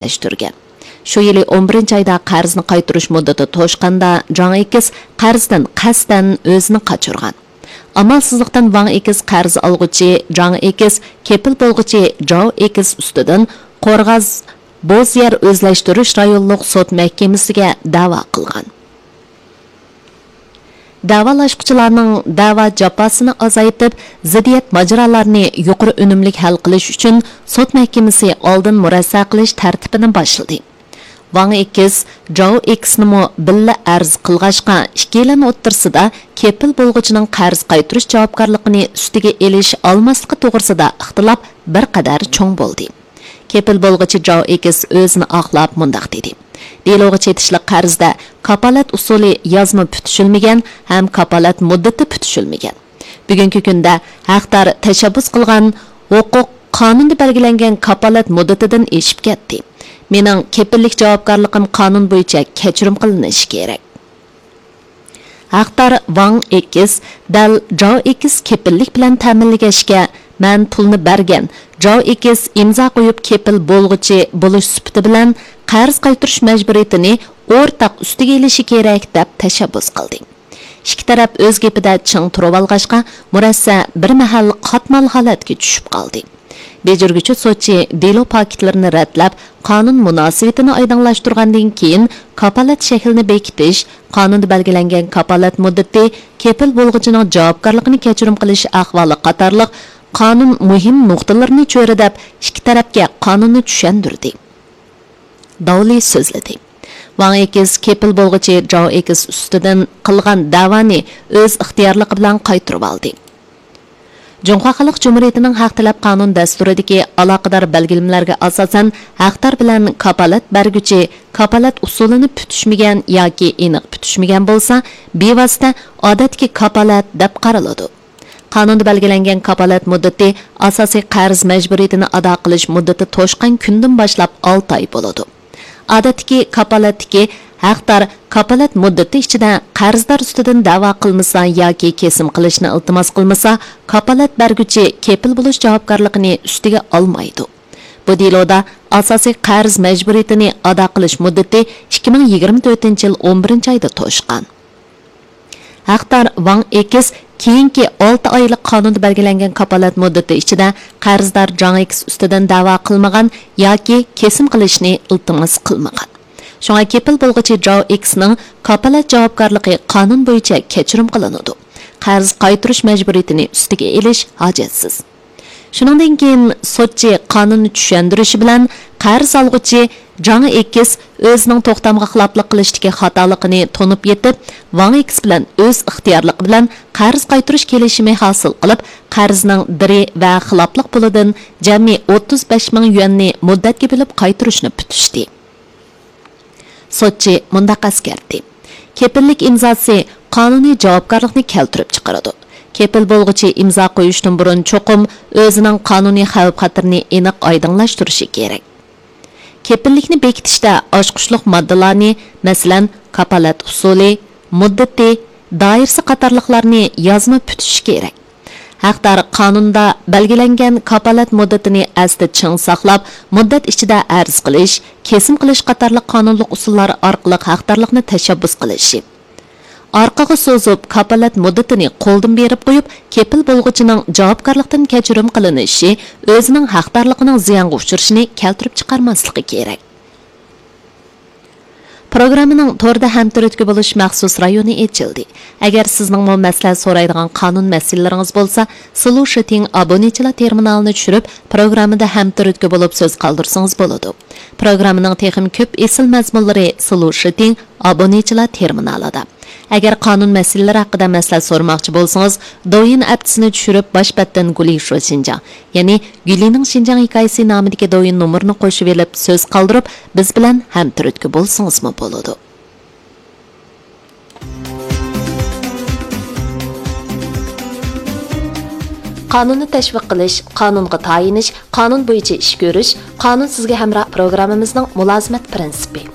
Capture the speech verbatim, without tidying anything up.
ئەمەلىيلەشتۈرگەن. شۇ يىلى ئون بىرىنچى ئايدا قەرزنى قايتۇرۇش مۇددىتى توشقاندا، جاڭ ئېكس قەرزدىن قەستەن ئۆزىنى قاچۇرغان. ئامالسىزلىقتىن ۋاڭ ئېكس قەرز ئالغۇچى جاڭ ئېكس، كېپىل بولغۇچى جاۋ ئېكس ئۈستىدىن قورغاس بوز يەر ئۆزلەشتۈرۈش رايونلۇق سوت مەھكىمىسىگە دەۋا قىلغان. دەۋالاشقۇچىلارنىڭ دەۋا جاپاسىنى ئازايتىپ، زىددىيەت ماجىرالارنى يۇقىرى ئۈنۈملۈك ھەل قىلىش ئۈچۈن سوت مەھكىمىسى ئالدىن مۇرەسسە قىلىش تەرتىپىنى باشلىدى. ۋاڭ ئېكس جاۋ ئېكسنىمۇ بىللە ئەرز قىلغاچقا، ئىككىيلەن ئوتتۇرىسىدا كېپىل بولغۇچىنىڭ قەرز قايتۇرۇش جاۋابكارلىقىنى ئۈستىگە ئېلىش ئالماسلىقى توغرىسىدا ئىختىلاپ بىر قەدەر چوڭ بولدى. كېپىل بولغۇچى جاۋ ئېكس ئۆزىنى ئاقلاپ مۇنداق دېدى: دېلوغا چېتىشلىق قەرزدە كاپالەت ئۇسۇلى يازما پۈتۈشۈلمىگەن ھەم كاپالەت مۇددىتى پۈتۈشۈلمىگەن. بۈگۈنكى كۈندە ھەقدار تەشەببۇس قىلغان ھوقۇق قانۇندا بەلگىلەنگەن كاپالەت مۇددىتىدىن ئېشىپ كەتتى. مېنىڭ كېپىللىك جاۋابكارلىقىم قانۇن بويىچە كەچۈرۈم قىلىنىشى كېرەك. ھەقدار ۋاڭ ئېكس دەل جاۋ ئېكس كېپىللىك بىلەن تەمىنلىگەچكە، مەن پۇلنى بەرگەن، جاۋ ئېكس ئىمزا قويۇپ كېپىل بولغۇچى بولۇش سۈپىتى بىلەن قەرز قايتۇرۇش مەجبۇرىيىتىنى ئورتاق ئۈستىگە ئېلىشى كېرەك، دەپ تەشەببۇس قىلدى. ئىككى تەرەپ ئۆز گېپىدە چىڭ تۇرۇۋالغاچقا، مۇرەسسە بىر مەھەل قاتمال ھالەتكە چۈشۈپ قالدى. بېجىرگۈچى سوتچى دېلو پاكىتلىرىنى رەتلەپ، قانۇن مۇناسىۋىتىنى ئايدىڭلاشتۇرغاندىن كېيىن، كاپالەت شەكلىنى بېكىتىش، قانۇندا بەلگىلەنگەن كاپالەت مۇددىتى، كېپىل بولغۇچىنىڭ جاۋابكارلىقىنى كەچۈرۈم قىلىش ئەھۋالى قاتارلىق قانۇن مۇھىم نۇقتىلىرىنى چۆرىدەپ، ئىككى تەرەپكە قانۇننى چۈشەندۈردى. داۋلى سۆزلىدى. ۋاڭ ئېكس كېپىل بولغۇچى جاۋ ئېكس ئۈستىدىن قىلغان دەۋانى ئۆز ئىختىيارلىقى بىلەن قايتۇرۇۋالدى. جۇڭخۇا خەلق جۇمھۇرىيىتىنىڭ ھەق تەلەپ قانۇن دەستۇرىدىكى ئالاقىدار بەلگىلىمىلەرگە ئاساسەن، ھەقدار بىلەن كاپالەت بەرگۈچى كاپالەت ئۇسۇلىنى پۈتۈشمىگەن ياكى ئېنىق پۈتۈشمىگەن بولسا، بىۋاسىتە ئادەتتىكى كاپالەت دەپ قارىلىدۇ. قانۇندا بەلگىلەنگەن كاپالەت مۇددىتى ئاساسىي قەرز مەجبۇرىيىتىنى ئادا قىلىش مۇددىتى توشقان كۈندىن باشلاپ ئالتە ئاي بولىدۇ. ئادەتتىكى كاپالەتتىكى ھەقدار كاپالەت مۇددىتى ئىچىدە قەرزدار ئۈستىدىن دەۋا قىلمىسا ياكى كېسىم قىلىشنى ئىلتىماس قىلمىسا، كاپالەت بەرگۈچى كېپىل بولۇش جاۋابكارلىقىنى ئۈستىگە ئالمايدۇ. بۇ دېلودا ئاساسىي قەرز مەجبۇرىيىتىنى ئادا قىلىش مۇددىتى ئىككى مىڭ يىگىرمە تۆتىنچى يىل ئون بىرىنچى ئايدا توشقان. ھەقدار ۋاڭ ئېكس كېيىنكى ئالتە ئايلىق قانۇندا بەلگىلەنگەن كاپالەت مۇددىتى ئىچىدە قەرزدار جاڭ ئېكس ئۈستىدىن دەۋا قىلمىغان ياكى كېسىم قىلىشنى ئىلتىماس قىلمىغان. شۇڭا كېپىل بولغۇچى جاۋ ئېكسنىڭ كاپالەت جاۋابكارلىقى قانۇن بويىچە كەچۈرۈم قىلىنىدۇ. قەرز قايتۇرۇش مەجبۇرىيىتىنى ئۈستىگە ئېلىش ھاجەتسىز. شۇنىڭدىن كېيىن سوتچى قانۇننى چۈشەندۈرۈشى بىلەن قەرز ئالغۇچى جاڭ ئېكس ئۆزىنىڭ توختامغا خىلاپلىق قىلىشتىكى خاتالىقىنى تونۇپ يېتىپ، ۋاڭ ئېكس بىلەن ئۆز ئىختىيارلىقى بىلەن قەرز قايتۇرۇش كېلىشىمى ھاسىل قىلىپ، قەرزنىڭ دىرى ۋە خىلاپلىق پۇلىدىن جەمئىي ئوتتۇز بەش مىڭ يۈەننى مۇددەتكە بۆلۈپ قايتۇرۇشنى پۈتۈشتى. سوتچى مۇنداق ئەسكەرتتى: كېپىللىك ئىمزاسى قانۇنىي جاۋابكارلىقنى كەلتۈرۈپ چىقىرىدۇ. كېپىل بولغۇچى ئىمزا قويۇشتىن بۇرۇن چوقۇم ئۆزىنىڭ قانۇنىي خەۋپ-خەتىرىنى ئېنىق ئايدىڭلاشتۇرۇشى كېرەك. كېپىللىكنى بېكىتىشتە ئاچقۇچلۇق ماددىلارنى، مەسىلەن، كاپالەت ئۇسۇلى، مۇددىتى، دائىرىسى قاتارلىقلارنى يازما پۈتۈشى كېرەك. ھەقدار قانۇندا بەلگىلەنگەن كاپالەت مۇددىتىنى ئەستە چىڭ ساقلاپ، مۇددەت ئىچىدە ئەرز قىلىش، كېسىم قىلىش قاتارلىق قانۇنلۇق ئۇسۇللار ئارقىلىق ھەقدارلىقنى تەشەببۇس قىلىشى. ئارقىغا سوزۇپ، كاپالەت مۇددىتىنى قولدىن بېرىپ قويۇپ، كېپىل بولغۇچىنىڭ جاۋابكارلىقتىن كەچۈرۈم قىلىنىشى ئۆزىنىڭ ھەقدارلىقىنىڭ زىيانغا ئۇچرىشىنى كەلتۈرۈپ چىقارماسلىقى كېرەك. پروگراممىنىڭ توردا ھەمتۈرتكە بولۇش مەخسۇس رايونى ئېچىلدى. ئەگەر سىزنىڭمۇ مەسلىھەت سورايدىغان قانۇن مەسىلىلىرىڭىز بولسا، سلۇشىتىڭ ئابۇنىچىلار تېرمىنالىنى چۈشۈرۈپ، پروگراممىدا ھەمتۈرتكە بولۇپ سۆز قالدۇرسىڭىز بولىدۇ. پروگراممىنىڭ تېخىمۇ كۆپ ئېسىل مەزمۇنلىرى سلۇشىتىڭ ئابۇنىچىلار تېرمىنالىدا. ئەگەر قانۇن مەسىلىلىرى ھەققىدە مەسلىھەت سورىماقچى بولسىڭىز، دوۋيىن ئەپتىسىنى چۈشۈرۈپ، باش بەتتىن گۇلى شۇ شىنجاڭ، يەنى گۈلىنىڭ شىنجاڭ ھېكايىسى نامىدىكى دوۋيىن نومۇرىنى قوشۇۋېلىپ سۆز قالدۇرۇپ، بىز بىلەن ھەمتۈرتكە بولسىڭىزمۇ بولىدۇ. قانۇننى تەشۋىق قىلىش، قانۇنغا تايىنىش، قانۇن بويىچە ئىش كۆرۈش، قانۇن سىزگە ھەمراھ پروگراممىمىزنىڭ مۇلازىمەت پىرىنسىپى.